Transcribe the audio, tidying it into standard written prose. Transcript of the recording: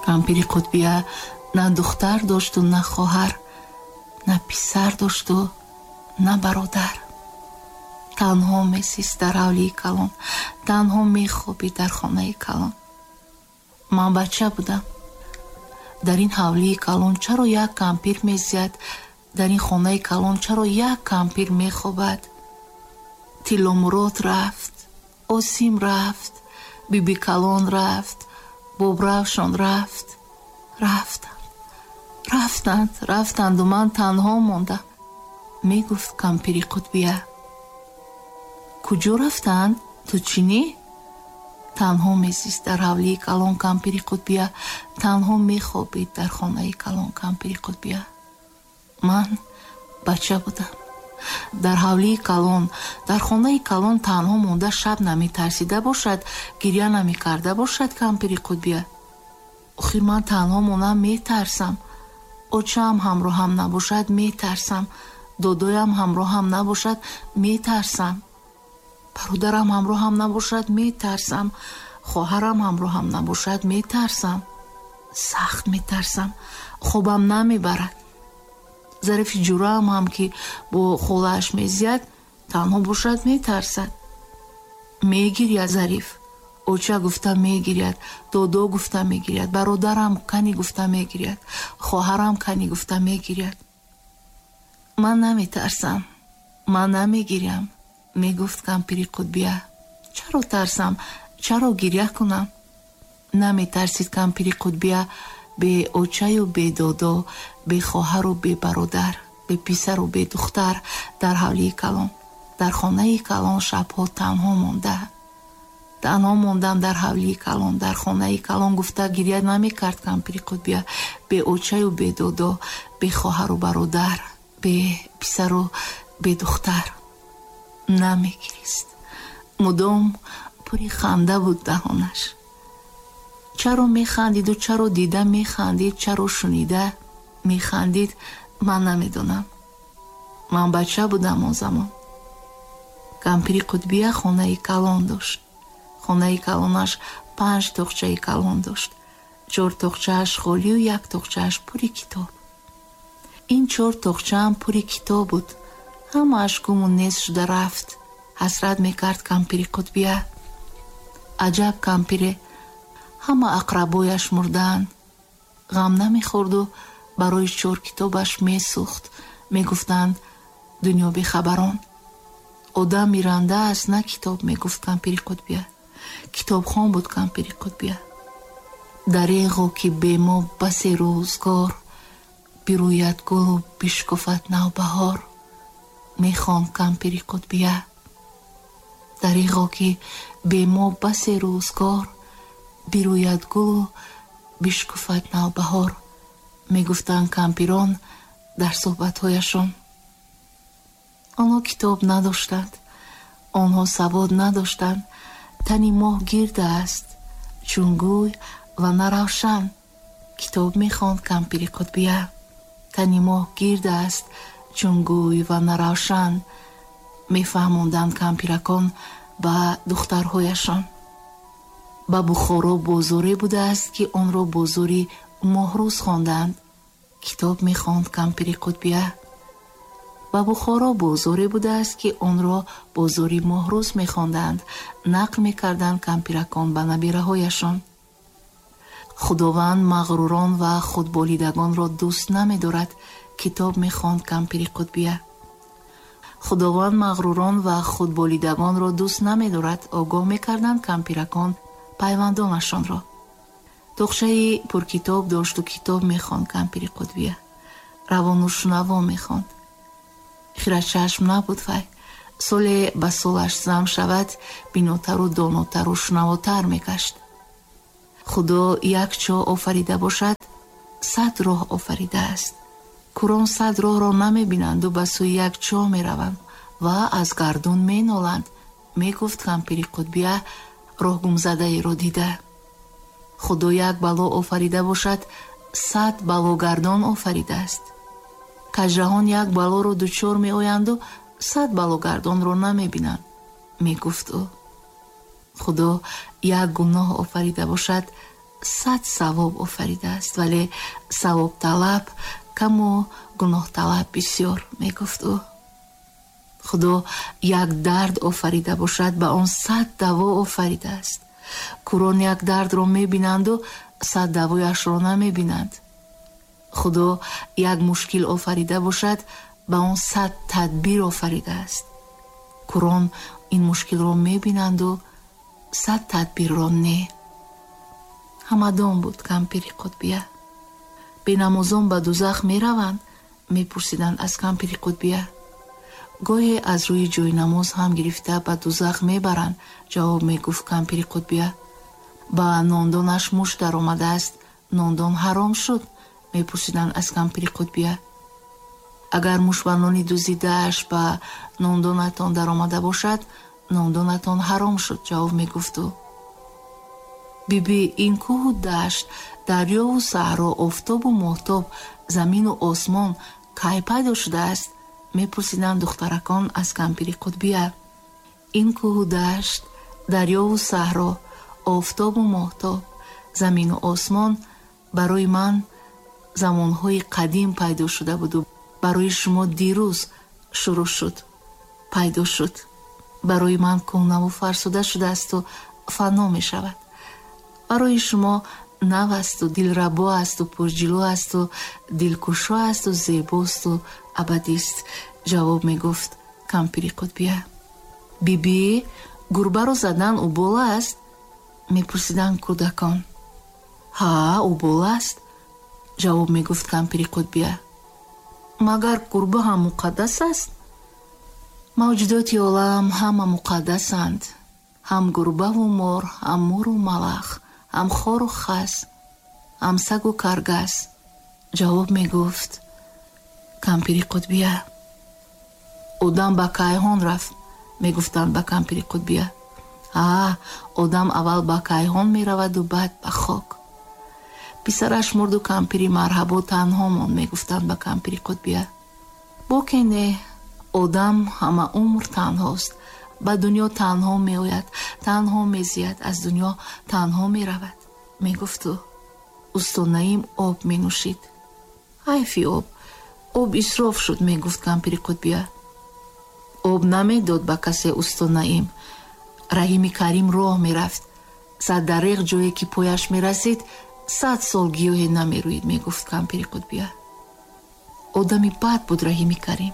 Кампири Қутбия на духтар дошту, на хоҳар, на писар дошту, на бародар. Танҳо месист дар ҳавлии калон, танҳо мехобид дар хонаи калон. Ман бача будам. Дар ин ҳавлии калон чаро як кампир мезияд? Дар ин хонаи калон чаро як кампир мехобад? Тилломурод рафт, Осим рафт, Биби Калон рафт, Бобравшон рафт. Рафтанд, рафтанд, рафтанду ман танҳо мондам, мегуфт кампири Қутбия. Куҷо рафтанд? Ту чинӣ? Танҳо мезист дар ҳавлии калон кампири Қутбия, танҳо мехобид дар хонаи калон кампири Қутбия. Ман бача будам. Дар ҳавлии калон, дар хонаи калон танҳо монда шаб наметарсида бошад, гиря намекарда бошад кампири Қутбия. Охир ман танҳо монам метарсам. Очаам ҳамроҳам набошад метарсам. Додоям ҳамроҳам набошад метарсам. Бародарам ҳамроҳам набошад метарсам. Хоҳарам ҳамроҳам набошад метарсам. Сахт метарсам. Хобам намебарад. Зарифи ҷураам ҳам ки бо холааш мезияд, танҳо бошад метарсад. Мегиряд Зариф. Оча гуфта мегиряд, додо гуфта мегиряд, бародарам кани гуфта мегиряд, хоҳарам кани гуфта мегиряд. Ман наметарсам, ман намегирям, мегуфт кампири Қутбия. Чаро тарсам, чаро гиря кунам? Наметарсид кампири Қутбия бе очаю бе додо, бе хоҳару бе бародар, бе писару бе духтар дар ҳавлии калон, дар хонаи калон шабҳо танҳо монда. Танҳо мондам дар ҳавлии калон, дар хонаи калон гуфта гиря намекард кампири Қутбия бе очаю бе додо, бе хоҳару бародар, бе писару бе духтар. Намегирист. Мудом пури ханда буд даҳонаш. Чаро механдиду чаро дида механдид, чаро шунида механдид, ман намедонам. Ман бача будам он замон. Кампири Қутбия хонаи калон дошт. Хонаи калонаш 5 тоқчаи калон дошт. 4 тоқчааш холию 1 тоқчааш пури китоб. Ин 4 тоқчаам пури китоб буд. Ҳамааш гуму нест шуда рафт. Ҳасрат мекард кампири Қутбия. Аҷаб кампире! Ҳама ақрабояш мурдаанд. Ғам намехӯрду барои 4 китобаш месӯхт. Мегуфтанд дунё бехабарон. Одам миранда аст, на китоб, мегуфт кампири Қутбия. Китобхон буд кампири Қутбия. Дареғо ки бе мо басе рӯзгор, бирӯяд гулу бишкуфад навбаҳор, мехонд кампири Қутбия. Дареғо ки бе мо басе рӯзгор, бирӯяд гулу бишкуфад навбаҳор, мегуфтанд кампирон дар суҳбатҳояшон. Онҳо китоб надоштанд, онҳо савод надоштанд. Тани моҳ гирд аст, чун гӯй ва наравшан. Китоб мехонд кампири Қутбия. Тани моҳ гирд аст, чун гӯй ва наравшан, мефаҳмонданд кампиракон ба духтарҳояшон. Ба Бухоро бозоре будааст, ки онро бозори моҳрӯз хонданд. Китоб мехонд кампири Қутбия. Ба Бухоро бозоре будааст, ки онро бозори моҳрӯз мехонданд, нақл мекарданд кампиракон ба набираҳояшон. Худованд мағрурон ва худболидагонро дӯст намедорад, китоб мехонд кампири Қутбия. Худованд мағрурон ва худболидагонро дӯст намедорад, огоҳ мекарданд кампиракон пайвандонашонро. Тоқчаи пуркитоб дошту китоб мехонд кампири Қутбия. Равону шунаво мехонд. Хирачашм набуд вай. Соле ба солаш зам шавад, бинотару донотару шунавотар мегашт. Худо як чоҳ офарида бошад, 100 роҳ офаридааст. Курон 100 роҳро намебинанду ба сӯи як чоҳ мераванд ва аз гардун меноланд, мегуфт кампири Қутбия роҳгумзадаеро дида. Худо як бало офарида бошад, 100 балогардон офаридааст. Кажраҳон як балоро дучор меоянду 100 балогардонро намебинанд, мегуфт ӯ. Худо як гуноҳ офарида бошад, 100 савоб офаридааст, вале савобталаб каму гуноҳталаб бисёр, мегуфт ӯ. Худо як дард офарида бошад, ба он 100 даво офаридааст. Кӯрон як дардро мебинанду 100 давояшро намебинанд. Худо як мушкил офарида бошад, ба он 100 тадбир офаридааст. Кӯрон ин мушкилро мебинанду 100 тадбирро не. Ҳамадон буд кампири Қутбия. Бенамозон ба дузах мераванд? Мепурсиданд аз кампири Қутбия. Гоҳе аз рӯи ҷойнамоз ҳам гирифта ба дузах мебаранд, ҷавоб мегуфт кампири Қутбия. Ба нондонаш муш даромадааст, нондон ҳаром шуд? Мепурсиданд аз кампири Қутбия. Агар муш ба нони дузидааш ба нондонатон даромада бошад, нондонатон ҳаром шуд, ҷавоб мегуфт ӯ. Биби, ин кӯҳу дашт, дарёву саҳро, офтобу моҳтоб, замину осмон кай пайдо шудааст? Мепурсиданд духтаракон аз кампири Қутбия. Ин кӯҳу дашт, дарёву саҳро, офтобу моҳтоб, замину осмон барои ман замонҳои қадим пайдо шуда буду барои шумо дирӯз шурӯъ шуд, пайдо шуд. Барои ман кӯҳнаву фарсуда шудаасту фано мешавад. Барои шумо нав асту дилрабо асту пурҷилӯ асту дилкушо асту зебосту абадист, ҷавоб мегуфт кампири Қутбия. Биби, гурбаро задан убол аст? Мепурсиданд кӯдакон. Ҳа, убол аст, ҷавоб мегуфт кампири Қутбия. Магар гурба ҳам муқаддас аст? Мавҷудоти олам ҳама муқаддасанд. Ҳам гурбаву мор, ҳам муру малах, ҳам хору хас, ҳам сагу каргас, ҷавоб мегуфт кампири Қутбия. Одам ба кайҳон рафт, мегуфтанд ба кампири Қутбия. Аа, одам аввал ба кайҳон мераваду баъд ба хок. Писараш мурду кампири марҳабо танҳо монд, мегуфтанд ба кампири Қутбия. Боке не, одам ҳама умр танҳост. Ба дунё танҳо меояд, танҳо мезияд, аз дунё танҳо меравад, мегуфт ӯ. Усто Наим об менӯшид. Ҳайфи об, об исроф шуд, мегуфт кампири Қутбия. Об намедод ба касе усто Наим. Раҳими Карим роҳ мерафт. 100 дареғ ҷое ки пояш мерасид, 100 сол гиёҳе намерӯид, мегуфт кампири Қутбия. Одами бад буд Раҳими Карим.